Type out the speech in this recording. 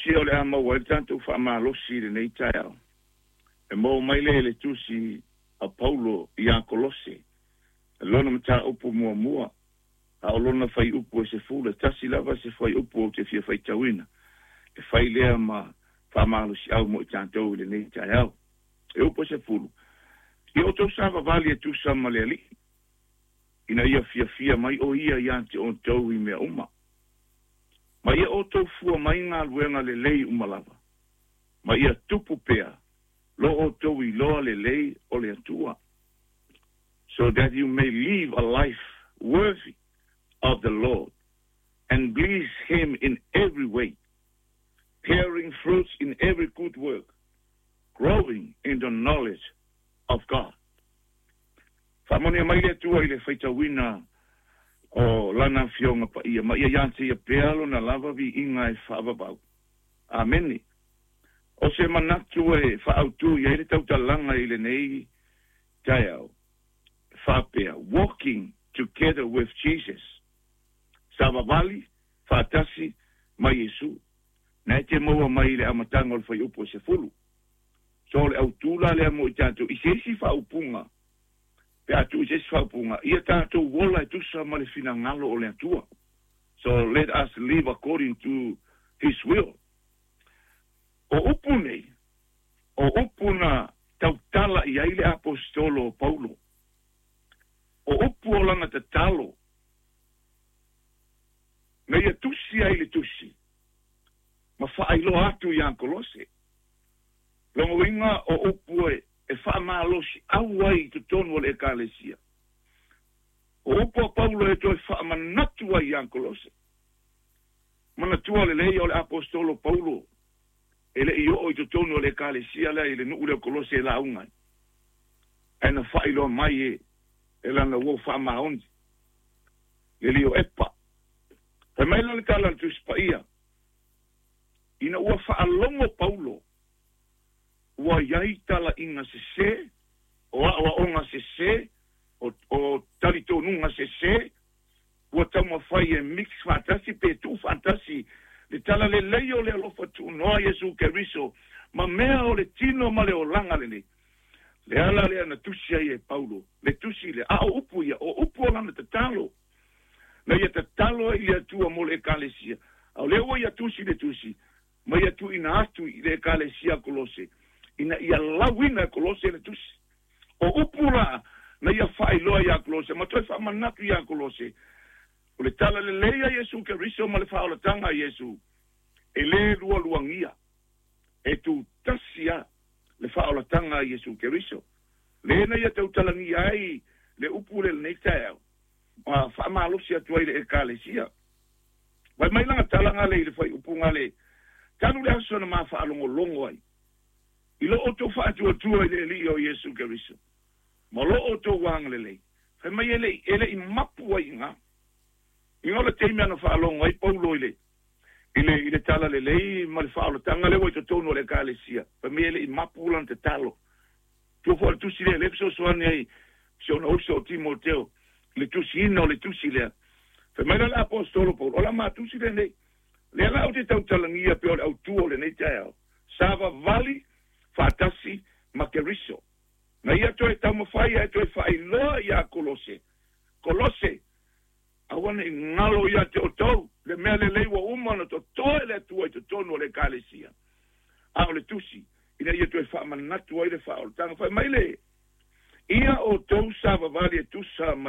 Kolose o le a maua ai le tatou faamalosi i lenei taeao. E maua mai lea i le tusi a Paulo ia Kolose, lona mataupu muamua, a o lona fuaiupu e 11 lava se fuaiupu ou te fia faitauina, e fai lea ma faamalosiau mo i tatou i lenei taeao. E upu e 10, ia outou savavali e tusa ma le Alii, ina ia fiafia mai o ia ia te outou i mea uma. Ma ia outou fua mai galuega lelei uma lava, ma ia tupu pea lo outou iloa lelei o le Atua. So that you may live a life worthy of the Lord and please Him in every way, bearing fruits in every good work, growing in the knowledge of God. Faamanuia mai le Atua i le faitauina o Lana Afioga Paia, ma ia ia te Ia pea Lona lava viiga e faavavau. Amene. O se manatu e faaautu i ai le tautalaga i lenei taeao, faapea, Walking together with Jesus. Savavali faatasi ma Iesu. Na e te maua mai i le amataga o le fuaiupu e 10. So o le autu la lea mo i tatou i se isi faaupuga, pe a tuu i se isi faaupuga, ia tatou ola e tusa ma le finagalo o le Atua. So let us live according to His will. O upu nei, o upu na tautala i ai le Aposetolo o Paulo. O upu o lana tatalo, na ia tusi ai le tusi, ma faailoa atu ia Kolose. Lona uiga o upu e faamalosiau ai i totonu o le Ekalesia. O upu a Paulo e toe faamanatu ai ia Kolose. Manatua lelei o le Aposetolo Paulo e le i oo i totonu o le Ekalesia lea i le nuu lea o Kolose e lauga ai. Ae na faailoa mai e lana uo faamaoni, le lio Epa. Fai mai la le tala a le Tusi Paia, ina ua faalogo Paulo ua i ai talaiga sesē, o aoaoga sesē, o talitonuga sesē, ua taumafai e mix faatasi pe tuu faatasi le talalelei o le alofa tuunoa Iesu Keriso ma mea o le tino ma le olaga lenei. Le ala lea na tusi ai e Paulo, le tusi lea, a o upu ia, o upu o lana tatalo, na ia tatalo ai i le Atua mo le Ekalesia. A o lea ua ia tusi le tusi, ma ia tuuina atu i le Ekalesia Kolose, ina ia lauina e Kolose le tusi. O upu la na ia faailoa ia Kolose, ma toe faamanatu ia Kolose, o le talalelei a Iesu Keriso ma le faaolataga a Iesu, e lē lualuagia, e tutasi a le faaolataga a Iesu Keriso. Le na ia tautalagia ai le upu le lenei taeao, ma faamalosi atu ai le Ekalesia. Fai mai lana talaga le i le fuaiupuga le, talu le aso na ma faalogologo ai, i lo outou faatuatua i le Alii o Iesu Keriso, ma lo outou agalelei. Fai mai e le i mapu ai i ina. Ina o le taimi ana faalogo ai Paulo i le talalelei ma le faaolataga lea ua i totonu o le Ekalesia, fai mai e le i mapu lana tatalo. Tua foi o le tusi lea, lea fesoasoani ai si ona uso o Timoteo, le tusiina o le tusi lea. Fai mai la le Aposetolo Paulo, o la matusi lenei, lea la ou te tautalagia pe o le autu o lenei taeao, savavali faatasi ma Keriso. Na ia toe taumafai ai toe faailoa ia Kolose. Kolose, aua ne i galo ia te outou, le mea lelei ua uma ona totoe le Atua i totonu o le Ekalesia. A o le tusi, ina ia toe faamanatu ai le faaolataga. Fai mai le, ia outou savavali e tusa ma le